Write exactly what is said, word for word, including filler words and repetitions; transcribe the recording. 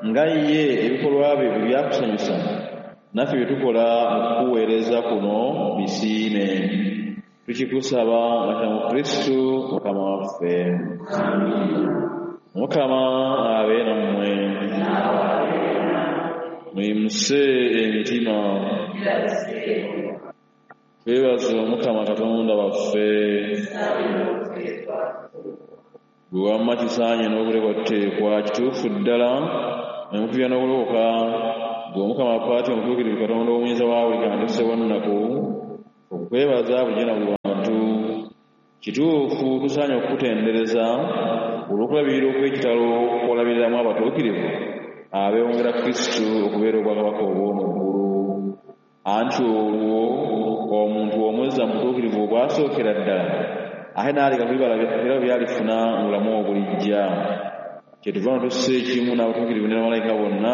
Nga ye ebikolwa bye bwe byakusanyusa, naffe bye tukola mu kukuweereza kuno bisiime. Tukikusaba nga mu Kristu Mukama waffe. Mukama abe nammwe. Muyimuse emitima. Twebaze Omukama Katonda waffe. Gwe wamma kisaanye n'okuteekwateekwa kituufu ddala ne mutubya n'okulokoka, ggwe Omukama Apaati Omutuukirivu Katonda Omuyinza wa buli kantu Ssewanaku, okukwebaza bulijjo na buli wantu. Kituufu tusaanye okukutendereza olw'okulabirira okw'ekitalo kw'olabiriramu abatuukirivu abeewongera Kristu okubeera obwakabaka obw'omu ggulu. Anti olwo omuntu omuzza mu butuukirivu obwasookera ddala ate n'aleka ku birabo by'alifuna mu bulamu obulijja. Kyetuva nno tussa ekimu n'abatuukirivu ne bamalayika bonna